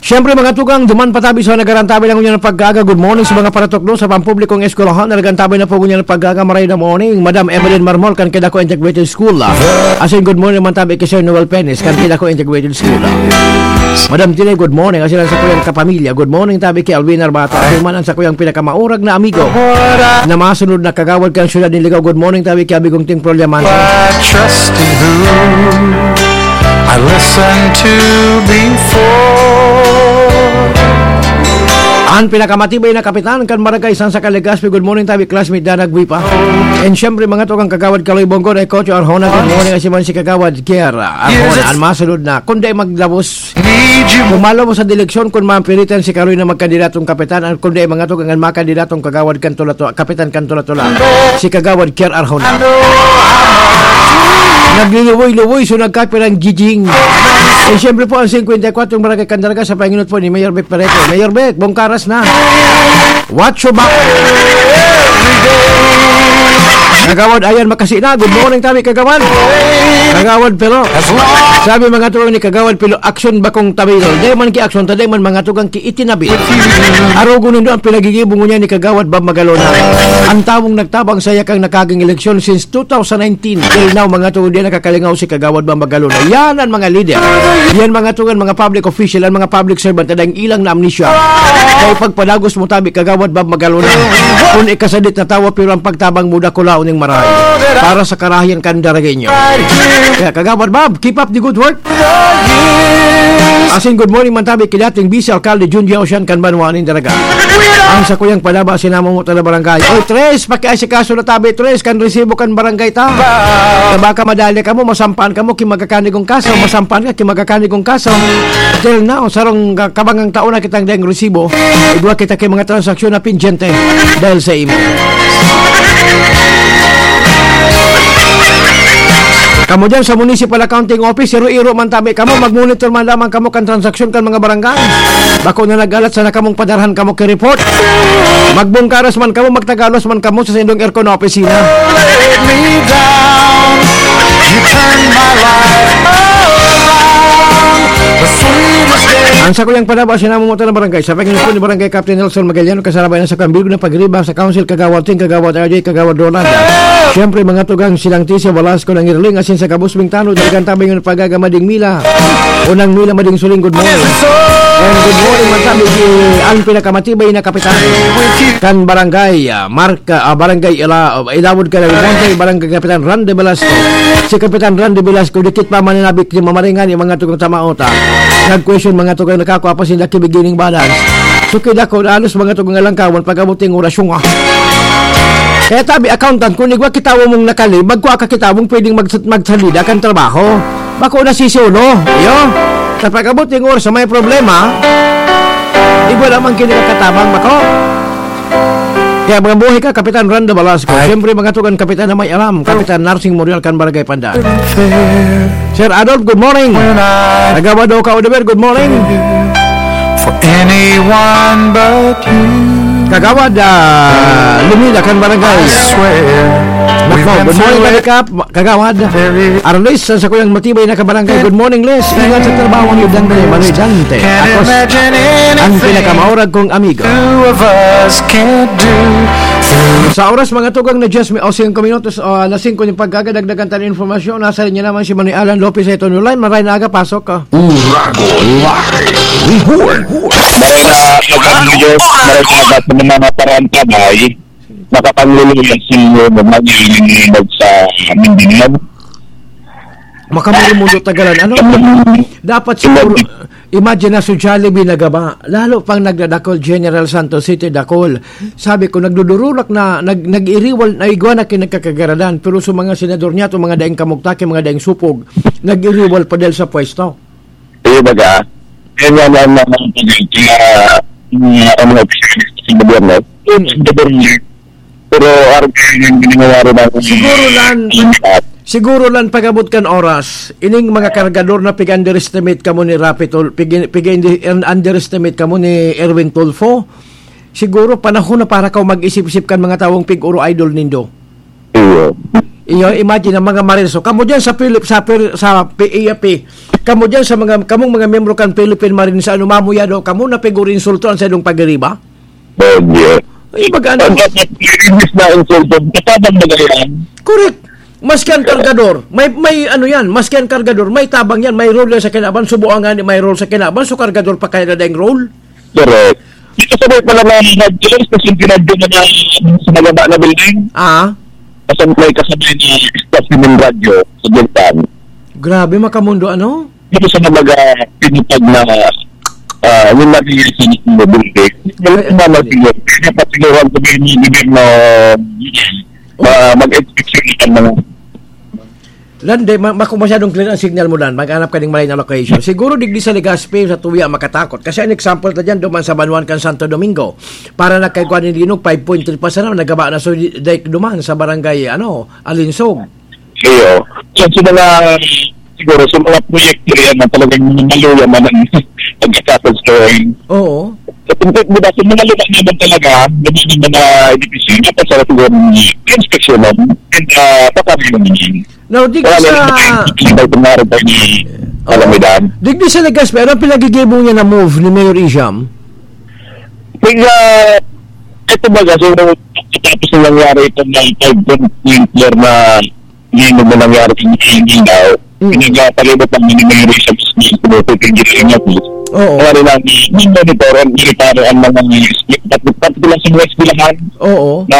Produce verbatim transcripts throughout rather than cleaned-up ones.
Siyempre, mga tugang, duman pa tabi sa nagarantabi lang ngunyan ng pag-aga. Good morning sa mga paratukdo sa pampublikong eskwelahan. Nagarantabi na po ngunyan ng pag-aga. Maray na morning, Madam Evelyn Marmol, kan Kidako Integrated School. Asin, good morning man tabi kay Sir Noel Penes, kan Kidako Integrated School. Madam Tine, good morning. Asin ang sakuyang kapamilya. Good morning tabi kay Alvin Arbata. Asin man ang sakuyang pinakamaurag na amigo na masunod na kagawad kan siyudad ni Ligao. Good morning tabi kay Abigong Ting Proliamante. I trust in who I listen to before. An pinakamatibay na kapitan kan Barangay San Saka Legazpi, good morning tabi, classmate Dana Guipa. And siyempre, mga tugang, Kagawad Kaloy Bongo, Rekocho Arjona, good morning, asin man si Kagawad Kier Arjona. An masunod na, kundi maglabos, pumalo mo sa direksyon kun mapiritan si Kaloy na magkandidatong kapitan, an kundi mga tugang, an makandidatong kagawad kan Tula-Tula, kapitan kan Tula-Tula, si Kagawad Kier Arjona. Nagluluwoy-luwoy, so nagkapirang giging. Eh, siyempre po, ang singkwenta y kwatro barangay kan Daraga sa panginot po ni Mayor Bec Perete. Mayor Bec, bongkaras na. Watch your back. Kagawad, ayan, makasi na. Good morning, tabi, Kagawad. Kagawad, pero, sabi mga tugang ni Kagawad, pero aksyon bakong tabi. Di man ki aksyon, ta di man mga tugang ki itinabi. Arogon nindo ang pinagigibo ngunyan ni Kagawad Bob Magalona. Ang tawong nagtabang sa yakang nakaging eleksyon since two thousand nineteen till now, mga tugang, di nakakalingaw si Kagawad Bob Magalona. Yan ang mga leader. Yan mga tugang, mga public official, ang mga public servant, na dang ilang na amnesia. Kaya pagpadagos mo tabi, Kagawad Bob Magalona. Kung ikasadit na tawa, pero ang pagtabang mo, dakulaon ning maray. Para sa karahayan kan Daragueño. Kaya, Kagawad Bob, keep up the good work. Asin good morning man tabi ki dating Vice Alcalde Junjie Ocian kan banwa nin Daraga. Ang sakuyang padaba, sinamo mo ta na barangay. Oy, Tres, pakiasikaso na tabi, Tres, kan resibo kan barangay ta. Na baka madali kamo, masampaan kamo ki magakanigong kaso, masampaan ka ki magakanigong kaso. Till now, sarong ka-, kabangang taon na kitang daing resibo. Igwa kita ki mga transaksyon na pendyente dahil sa imo. Kamo dyan sa Municipal Accounting Office, iro-iro man tabi kamo, mag-monitor man lamang kamo kan transaksyon kan mga barangay. Bako na nag-alat sana kamong padarhan kamo ki report. Magbungkaras man kamo, magtagalos man kamo sa saindong aircon na opisina. Let me down. You turn my life around. The sweetest day. Ang sakuyang padaba, sinamo mo ta na barangay. Sa paghinapon ni Barangay Captain Nelson Magallan, kasarabay na sa kambilog na pagriba sa Council, Kagawad Ting, Kagawad R J, Kagawad Roland. Siyempre, mga tugang, silang Tisa Velasco ng Irling, asin sa gabos ming tanod, dalagang tabi yung pagagamading mila. Unang mila, mading suling, good morning. And good morning, man tabi si ang pinakamatibay na kapitan kan barangay, ah, Mark, ah, barangay Ila-, Ilawod ka ng Monte, barangay Kapitan Randy Velasco. Si Kapitan Randy Velasco, dikit pa mananabik ni mamaringan yung mga tugang tamaota. Nag-question mga tugang nakakwa pa sinda ki beginning balance. So, kaya ko, alos mga tugang alangkawan, pag-abot yung orasyon, ah. Kaya tabi, accountant, kung igwa kitawa mong nakali, bagko aka kitawa mong pwedeng mag-, magsalida kan trabaho. Bako na si Solo, iyo. Sa pag-abot yung oras, may problema, igwa naman kinakatabang bako. Kaya mga buhay ka, Kapitan Rando Velasco. Ay. Siyempre, mga tugang kapitan na may alam, Kapitan Narsing Morial kan Barangay Pandan. Sir Adolf, good morning. Kagawad Oka Odeber, good morning. For anyone but you. Kagawad, ah, Lumila kan Barangay. I swear. Nako, we've been good morning, through it. Kagawad. Very Arlis, sa kuyang matibay na kabarangay. Good morning, Les. Ingat sa trabaho ni Dante, Manoy Dante. Can't Akos, imagine anything ang pinakamaurag kong amigo. Two of us can't do. Sa oras, mga tugang na diyes, may o singko minutos, o alas singko yung pagkaga, dagdagan tayo ng informasyon. Nasa linya naman si Manoy Alan Lopez sa ito online. Maray na aga, pasok ka. Uragon Live Report. Maray na aga, Diyos. Maray na aga sa mga parang kamay. Nakapangluluya si Romania yung nilibag sa Mindanao. Makamurimundo tagalan. Ano? Dapat siguro, imagine na si Jollibee na gaba. Lalo pang nagdadakol, General Santos City, dakol. Sabi ko, nagdudururak na, nag-, nag-iriwal, na igwa na kinagkakagaradan. Pero sa mga senador niya, itong mga daing kamugtaki, mga daing supog, nag-iriwal pa dahil sa pwesto. Kaya baga, kaya nga lang naman, kaya, kaya, mga, ano, sa gobyerno, yung sa gobyerno, pero araw kayo yung ginagawa rin natin. Siguro lang, siguro lang pag-abot kan oras, ining mga kargador na pig-underestimate kamo ni Rapi Tul-, pig-, pig-, underestimate kamo ni Erwin Tulfo, siguro panahon na para kaw mag-isip-isip kan mga tawong pig-uro idol nindo. Iyo. Iyo, imagine ang mga Marines. So, kamo diyan sa Philip, sa, Phil- sa P A P, kamo diyan sa mga, kamong mga miyembro kan Philippine Marines, ano, mamuya do, kamo na piguro insulto ang sa idong pagiriba? Bagyo. Ay, mag-ano? Ang dapat, imbis na insulto, katabang na yan. Correct. Maski ang kargador, may, may ano yan, maski ang kargador, may tabang yan, may role yan sa kinaban, subuan nga ni may role sa kinaban, so kargador pa kaya na daing role? Correct. Dito sa may pala na radyo, kasi yung radyo na na sa malaba na building. Ah, Kasi may kasabay na staff ng radyo sa Japan. Grabe, makamundo, ano? Dito sa mga pinupag na ah, yung nabigay sa mga building. Yung mga siguro, kaya dapat siguro ang sabihin ng gobyerno, ah, mag-inspeksyon ng mga Lande, ma- mako masyadong clear ang signal mo, Dan. Maghanap ka ng malay na location. Siguro digdi sa Legazpi, sa Tuya, makatakot. Kasi ang example na dyan, duman sa Banwan kan Santo Domingo. Para nagkaigwa ni Linog, five point three pa sana, nagaba na so, di- dahil duman sa barangay, ano, Alinsog. Iyo. So, sa mga, siguro, sa mga proyekto yan na talagang maluya man ang pagkakasal sa drawing. Oo. Sa tungkol, di ba, sa mga luma naman talaga, yung mga mga edipisyon, dapat sa siguro ni inspeksyon mo, and uh, paparayo naman yun. Now, digdi Wala sa... naman yung iba itong araw pa ni Oo. Kalamidad. Digdi sa Legazpi, anong pinagigibong niya na move ni Mayor Isham? Kaya, ito baga, so, tapos na nangyari itong mga five point three floor na hindi mo nangyari sa mga hindi daw. Mm. Pinagpalibot ang mga nangyari sa mga pinagpalibot ang mga Oo. Kaya rin ang monitor and monitor ang mga eskwela. Pati lang sa mga eskwelahan Oo. na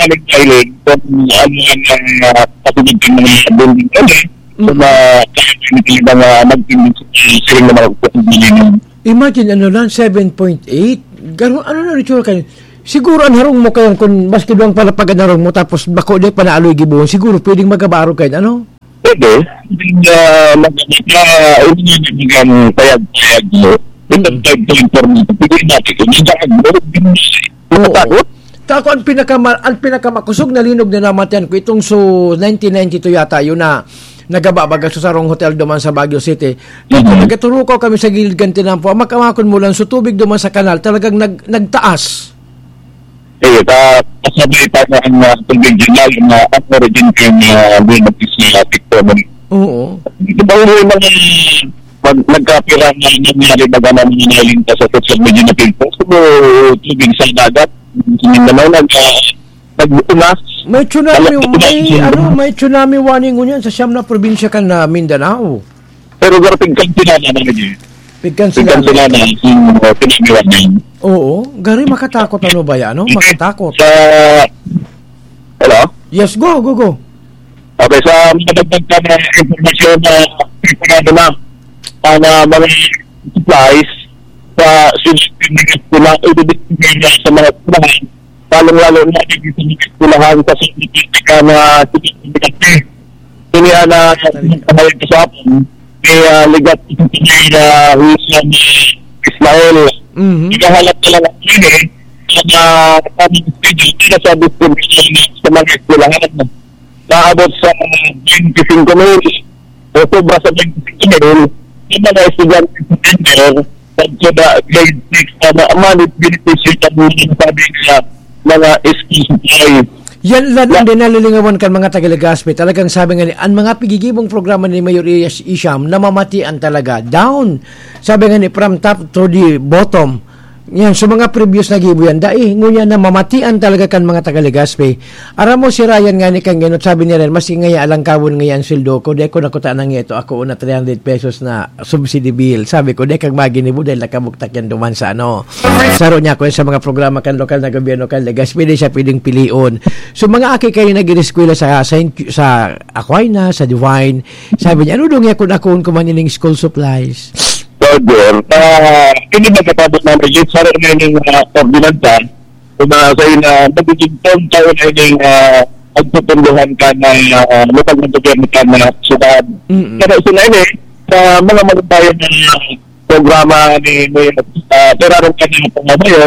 galing-galing kung ano ang uh, patulog ng mga building kami. Mm. Kung uh, kaya hindi ba nga magpindot sa siring na mga kukumbili ng Imagine, ano lang, seven point eight. Garo, ano na ritual kayo? Siguro ang harong mo kayan, kung maski duwang pala pag harong mo, tapos bako di pa naaloy gibuhon, siguro pwedeng magabaro kayo, ano? Pwede. Hindi na magamit na, hindi na magamit payag-payag mo. Ito Mm. Pwede inform mo. Pwede natin kung hindi ka nag-work, hindi na Oo. Matakot? Tako ang pinakama, ang pinakamakosog na linog na namatian ko itong so nineteen ninety-two yata yun na nagaba baga sa sarong hotel duman sa Baguio City. Tapos Mhm. nagkaturukaw kami sa gilid kan tinampo. Ang makamakon mo lang, so tubig duman sa kanal, talagang nag, nagtaas. Sige, ta, kasabay pa na ang uh, tubig dyan, lalo na ang origin ko yung uh, linog is uh, tikto mo. Oo. Di ba yung mga pag nagkapira na nangyari baga na mga nailing pa sa social media na pinpost, so, tubig sa dagat, sa Mindanao, nag, uh, nag-unas. May tsunami, Alam mo, may, tsunami. Ano, may tsunami warning ngunyan sa siyam na probinsya kan na Mindanao. Pero garapig kan sila na, ano, Jay? Pigkan Pigkan sila. Sila na, yung uh, tsunami warning. Oo, gari makatakot ano ba yan, ano? Makatakot. Sa, hello? Yes, go, go, go. Okay, sa mga dagdag pa na impormasyon na ipanado na, ang uh, mga supplies sa sila, sa mga eskwelahan, lalong-lalo na dito sa mga eskwelahan sa Sydney, na sila. Ini ana nagpahayag sa atin, kay ah, ligat ito sa may ah, Husam Ismail. Mhm. Ikahalat na lang ang ini sa mga tamang schedule para sa distribution sa mga eskwelahan. Naabot sa twenty-five mil o sobra sa twenty-five mil yung mga estudyante sa September pagkada grade six na ma- manit benepisyo ng mga sabi nga mga school supply. Yan lang ang din nalilingawan kan mga taga-Legazpi. Talagang sabi nga ni, ang mga pigigibong programa ni Mayor Ias Isham namamatian talaga. Down. Sabi nga ni, from top to the bottom. Yan, so mga previous na gibo yan. Dai, ngunyan namamatian talaga kan mga taga-Legazpi. Aram mo si Ryan nga ni Kangenot, sabi ni Ryan, maski ngaya alangkawon ngaya ang sweldo ko, di ko nakuta na nga ito ako na three hundred pesos na subsidy bill. Sabi ko, di kag maginibo dahil nakabuktak yan duman sa ano. Saro niya ako sa mga programa kan lokal na gobyerno kan Legazpi, di siya pwedeng pilion. So mga aki kayo nag-ireskwela sa, sa, sa Aquinas, sa Divine, sabi niya, ano daw nga kung ako kuman ining school supplies? Roger, ah, ini magkatapos na may saro na yung uh, ordinansa, kung uh, sa ina, magiging taon-taon na yung uh, pagpupunduhan ka na uh, lupag ng gobyerno ka na syudad. Mm-mm. Pero sila ini, sa mga malumbayan na programa ni Mayor uh, Gerardo Canino Pangamayo,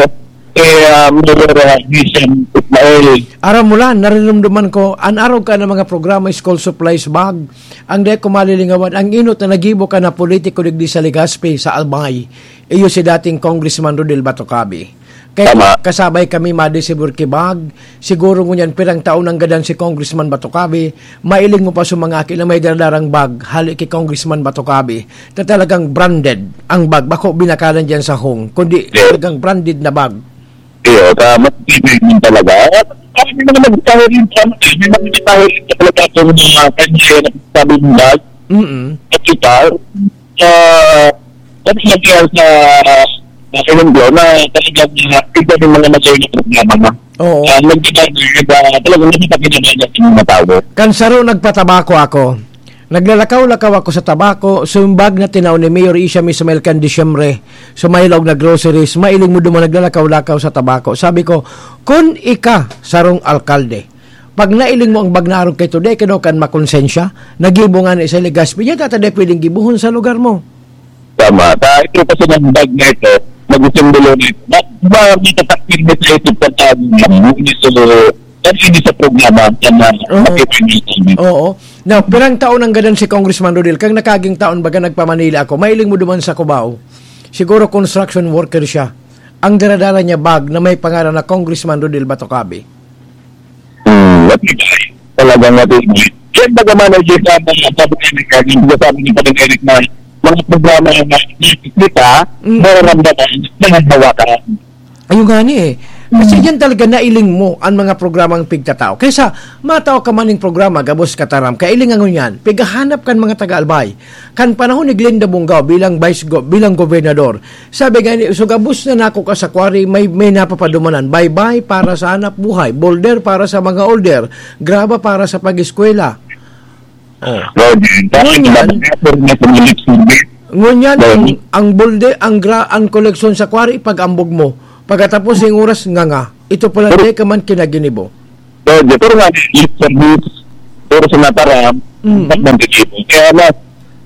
eh, uh, Mayor uh, Vincent Ismail. Aram mo lang, narinumduman ko, an araw ka ng mga programa, school supplies bag, ang dahil ko malilingawan, ang inot na nagibo ka na politiko digdi sa Legazpi, sa Albay, iyo si dating Congressman Rodel Batocabe. Kaya Tama. kasabay kami madisibor ki bag, siguro ngunyan pirang taon nang gadan si Congressman Batocabe, mailing mo pa sa mga aki na may daradarang bag, hali ki Congressman Batocabe. Ta talagang branded ang bag, bako binakalan diyan sa hong, kundi Yes. talagang branded na bag. Iyo, sa mas tibig din talaga. At kami naman nagtaho rin sa ano, eh, may mga nagtaho rin sa talaga itong mga kanya na sabi ng bag. Mm-mm. At kita, ah, kami nagkaya sa, sa Colombia na talagang, ah, iba yung mga nagkaroon ng problema na. Oo. Ah, nagkita, ah, talagang nakita kinabahan ng mga tao. Kan saro nagpatabako ako. Naglalakaw-lakaw ako sa tabako, sumbag na tinao ni Mayor Isha Mismael kan Disyembre, sa may laog na groceries, mailing mo duman naglalakaw-lakaw sa tabako. Sabi ko, "Kun ika sarong alkalde, pag nailing mo ang bag na arog kay today, kano kan makonsensya, nagibo nga ni sa Legazpi, yan tata di pwedeng gibuhon sa lugar mo." Tama. Ta, ito kasi ng bag na ito, nagsimbolo nito. Na, ba, may tatakil na sa isip sa tao ng buhay. So, kan ini sa programa, kan na, Oo. makikita niyo. Oo. Now, pirang taon ang gadan si Congressman Rodel? Kang nakaging taon baga nagpa-Manila ako, mailing mo duman sa Cubao. Siguro construction worker siya. Ang daradara niya bag na may pangaran na Congressman Rodel Batocabe. Hmm, what you guys? Talagang what you guys? Kaya baga man ang ginawa ng public hearing, hindi ko sabi ni Padre Eric na mga programa na nakikita, Mm. nararamdaman, nangangawakan. Ayun nga ni eh. Kasi Mm. yan talaga nailing mo ang mga programang pigtatao. Kaysa matao ka man ning programa, gabos kataram, kailingan ngunyan, pigahanap kan mga taga-Albay. Kan panahon ni Glenda Bongao bilang vice go-, bilang gobernador, sabi nga ni, "So gabos na nako ka sa quarry, may, may napapadumanan. Baybay para sa hanap buhay, boulder para sa mga older, graba para sa pag-eskwela." Oh. Roger, dahil Ngunyan, wala na po rin sa mga lips ng beer. ngunyan, Dahil ang, ang bulde, ang gra-, ang koleksyon sa quarry, pag-ambog mo. Pagkatapos yung oras, nganga. Ito pala, Pero di ka man kinaginibo. Roger, pero nga, lips ng beer, pero sa naparam, Mm. ba't nang ginibo? Kaya mas,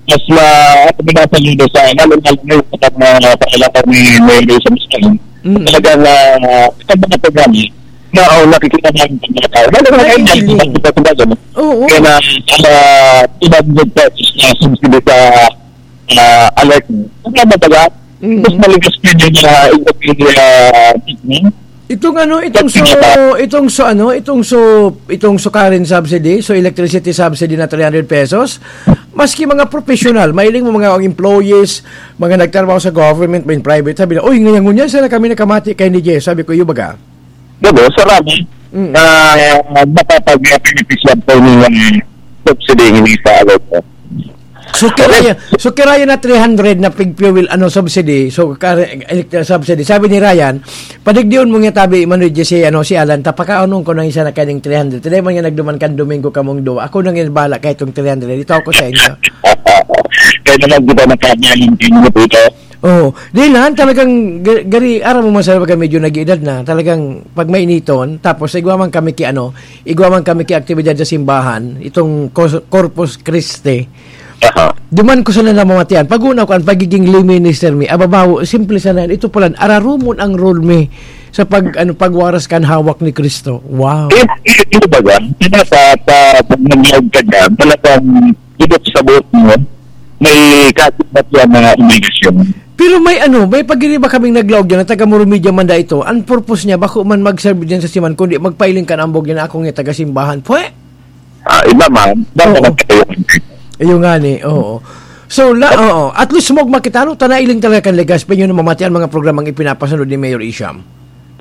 mas ma, ano, may nasa lido sa, lalo, lalo na yung sa mga pakilapan ni Melo sa Muslim. Mm. Talagang, ah, sa mga programa, na, oh, nakikita namin sa mga tao. Lalo na ngayon, Naiiling. nakikita ko ba, no? Oo. Kaya na, ah, two hundred pesos na subsidy sa, ah, alert. Ang mga baga, Mm. mas maligas pa yun na, ah, treatment. Itong ano, itong so, Pati nga ba? itong so, ano, itong so, itong so current subsidy, so electricity subsidy na three hundred pesos, maski mga professional, mailing mo mga employees, mga nagtrabaho sa government, may private, sabi na, "Uy, ngayon, ngayon, sana kami nakamati kay ni Jess." Sabi ko, "Iyo baga?" Gabo, sarami Mm. na nakakapinipisyar po ng subsidy hindi sa alert. So, Okay. kiraya, so, kiraya na three hundred na pig fuel, ano, subsidy. So, kare-, electric subsidy. Sabi ni Ryan, "Padigdion mo nga tabi, Manoy G C, ano, si Alan, tapakaonon ko nang isa na kaning three hundred." Today man nga nagduman kan Domingo kamong duwa. Ako nang inbala kay itong three hundred. Ito ako sa inyo. Kaya naman, di ba, nagkakayaling din mo po ito? Oo. Di lang, talagang ga-, gari, aram mo man sa baga medyo nag-edad na. Talagang pag mainiton, tapos igwa man kami ki ano, igwa man kami ki aktibidad sa simbahan, itong Cos-, Corpus Christi. Aha. Duman ko sana namamatian. Pag-una ko, ang pagiging lay minister mi, ababaw, simple sana yan. Ito pala, ararumon ang role mi sa pag, ano, pagwaras kan hawak ni Cristo. Wow. Eh, eh, ito ba yan? Kaya sa, sa, pag nag-live ka dyan, talagang ibig sa buhok mo, may kasipat yan na obligasyon. Pero may ano, may pagiriba kaming naglaog dyan, na taga Moro Media man da ito. Ang purpose niya, bako man mag-serve dyan sa siman, kundi magpailing kan ambog niya na akong taga-simbahan. Pwe! Ah, iba man, baka Oo. magkatayo. Ayun nga ni, oo. So, la, oo. At least, mog makitano, ta nailing talaga kan Legazpi, yun ang mamati ang mga programang ipinapasunod ni Mayor Isham.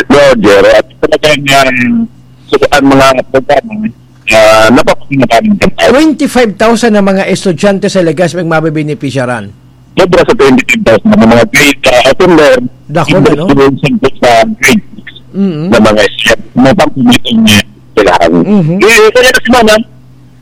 Roger, at talagang, um, so, ang mga programa, ah, napapakinggan namin. Twenty-five thousand na mga estudyante sa Legazpi ang mabebenepisyaran. Sobra sa twenty-five thousand na mga grade, ah, attender, Dako na, no? Sa grade six Mm-hmm. na mga estudyante, na pang-, kailangan. Mm-hmm. Eh, kaya na si Manang,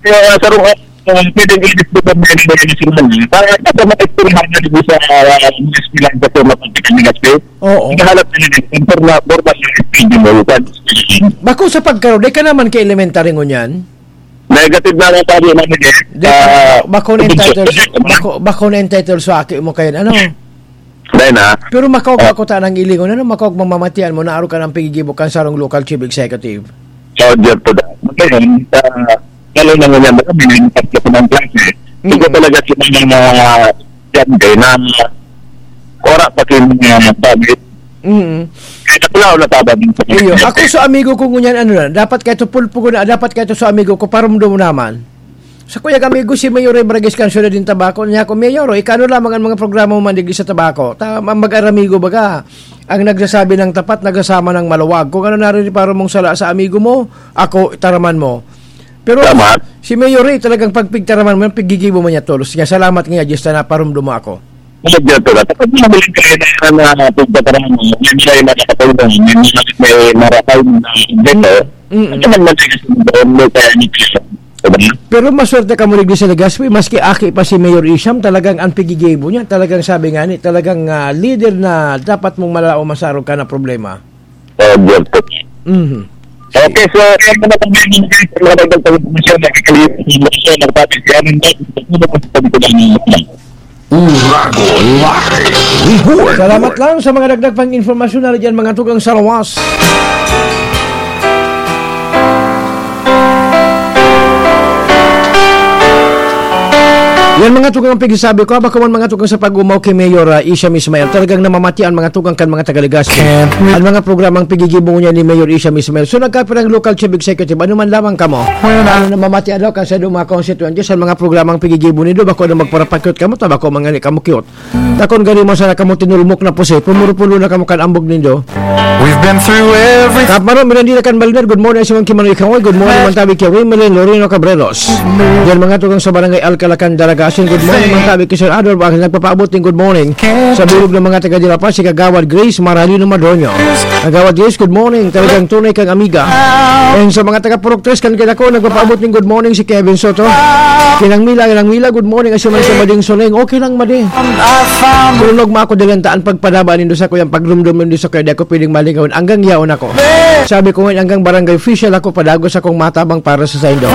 kaya sa rong, ah, pwedeng i-discover na yun, na yun si Manang. Para, para matekstorahan na dito sa, ah, mga eskwelahan sa Toma, Pagkakandinas, eh. Oo. Naghahanap na nila, informa-, formal na eskwelahan, sa eskwelahan. Bako sa pagkaro, di ka naman ka elementary ngunyan? Negative na lang tayo, manager. Di, Ah, bako na entitled, bako, bako na entitled sa aki mo kayo, ano? Dahil na. Pero makaog Ah. ako ta nang ilingon, ano? Makaog mamamatian mo, naaro ka ng pigigibo kan sarong local chief executive. Roger po da. Ngayon, ah, lalo na ngayon, may tatlo po ng klase. Ito Mm. talaga si mga, ah, estudyante na wala pa kayo mga gamit. Mm. Kahit ako lang, wala tabang. Iyo, ako sa amigo ko ngunyan, ano na, dapat kahit pulpo ko na, dapat kahit sa amigo ko, parumdom naman. Sa kuyang amigo, si Mayor Ray Vargas, kan siyudad nin Tabaco, niya ako, "Mayor, o, ikano lamang ang mga programa mo mandigdi sa Tabaco?" Ta-, ma-, mag-aramigo baga. Ang nagsasabi ng tapat, nagsasama ng maluwag. Kung ano naririparon mong sala sa amigo mo, ako, itaraman mo. Pero Tama. si Mayor Ray, talagang pagpigtaraman mo, piggigibo mo niya tolos niya. Salamat nga, Diyos, na naparumdom mo ako. Medyo to, kapag mabiling kailangan na pagpaparaan mo, may mga nakatulong, may mga, may maratay na objeto, Mm. Mm-mm. Ano man man tayo sa mga doon, may kaya ni Kristo. Diba? Pero maswerte ka mo digdi sa Legazpi, maski aki pa si Mayor Isham, talagang ang pigigibo niya, talagang sabi nga ni, talagang, ah, leader na dapat mong malao masarog ka na problema. Oh, Diyan po. Mhm. Okay, so, yan po na po, mga dagdag pang impormasyon, nakikaliit sa mga siya, nagpapit, kaya nang dahil sa mga pagkakas ng mga Urago Live Report. Salamat lang sa mga dagdag pang informasyon na dyan, mga tugang sa lawas. Yan, mga tugang, ang pigsasabi ko, bako man, mga tugang, sa pag-umaw ki Mayor, ah, Isham Ismail. Talagang namamati an mga tugang kan mga taga Legazpi. Can't re- An mga programang pigigibo niya ni Mayor Isham Ismail. So, nagkapirang local chief executive, ano man lamang kamo? When I Ano namamati daw kan sa mga konstituyente sa mga programang pigigibo nindo, bako na magparapakyot kamo, ta bako man ngani kamo cute. Takon gani mo sana kamo tinulmok na pusi, pumuro-pulo na kamo kan ambog nindo. We've been through everything. Kap Maro Mirandila kan Balinar, good morning, si Mang Kimano Ikaway, good morning, man tabi ki Ray Melen Loreno Cabreros. Diyan, mga tugang, sa Barangay Alcalacan, Daraga, asin, good morning, man tabi ki Sir Adolf, ang nagpapaabot ning good morning sa bilog ng mga taga Dirapan, si Kagawad Grace Maralino Madroño. Kagawad Grace, good morning, talagang tunay kang amiga. And sa mga taga Purok Tres, kan Quezon, nagpapaabot ning good morning si Kevin Soto. Kinang Mila, Kinang Mila, good morning, asin man si Mading Soleng, okay lang, Madi. Tulog mo ako, dilantaan pagpadaba nindo sa kuyang pagrumdom nindo sa kuya, di ako pwedeng malingaw. Hanggang yaon ako. Sabi ko ngayon, hanggang barangay official ako, padagos akong matabang para sa saindo.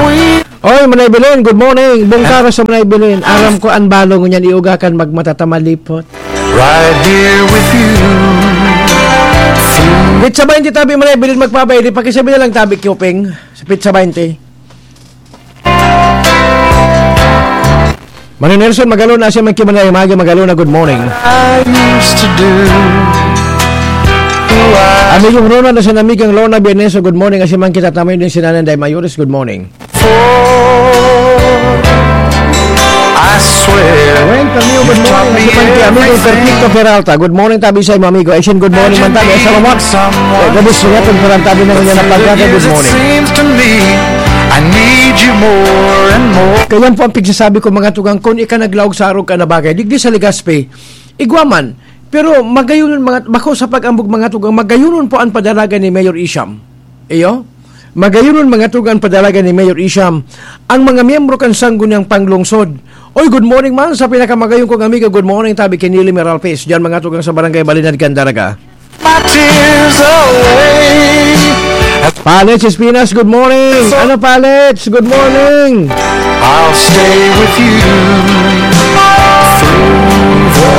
Oy, Manay Belen, good morning. Bungkara sa Manay Belen. Aram ko, ang balong niyan, iugakan, magmatatamalipot. Right here with you. Pizza ba hindi tabi, Manay Belen, magpabay? Di pakisabi na lang tabi, Kyopeng. Sa Pizza twenty. Mano Nelson Magalona, siya man ki Manay Magi Magalona, good morning. I used to do. Who I Amigo Ronald, na sa amigang Lona Bieneso, good morning. Kasi man kita tamay din si Nanay Day Mayores, good morning. For I swear Gwen Camilo, good morning. Kasi man ki amigo Perfecto Peralta, good morning, tabi sa imo, amigo. Asin, good morning man tabi. Sa Romax, eh, gabi sa inyo, pagparang tabi na ngunyan na pagkata, good morning. Seems to me, I need you more and more. Kaya po ang pigsasabi ko, mga tugang, kung ika naglaog sa arog ka na bagay, digdi sa Legazpi, igwa man. Pero magayonon, mga, bako sa pag-ambog, mga tugang, magayonon po ang padalagan ni Mayor Isham. Iyo? Magayonon, mga tugang, padalagan ni Mayor Isham ang mga miyembro kan Sangguniang Panglungsod. Oy, good morning man sa pinakamagayon kong amigo. Good morning, tabi ki Nili Meralpes. Diyan, mga tugang, sa Barangay Balinad, Candaraga. My tears away. Palets Espinas, good morning. Ano, Palets? Good morning. I'll stay with you through the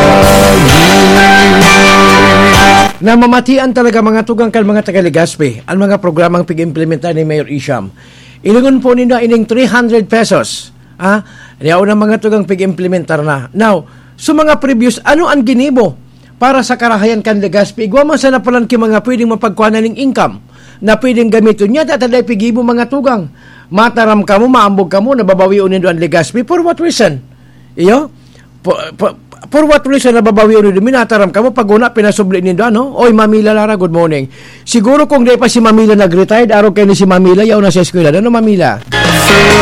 years. Namamatian talaga, mga tugang, kan mga taga Legazpi, ang mga programang pig-implementar ni Mayor Isham. Ilingon po ninda ining three hundred pesos. Ah, yaon ang mga tugang pig-implementar na. Now, so mga previous, ano ang ginibo para sa karahayan kan Legazpi? Igwa man sana palan ki mga pwedeng mapagkuhanan ning income na pwedeng gamiton niya, tatad ay pigibo, mga tugang. Mataram kamo, maambog kamo, nababawion nindo ang Legazpi. For what reason? Iyo? For, for, for what reason nababawion nindo? Minataram kamo, pag una, pinasubli nindo, ano? Oy, Mamila Lara, good morning. Siguro kung di pa si Mamila nag-retired, araw kayo ni si Mamila, yaw na sa eskwela. Ano, Mamila? Through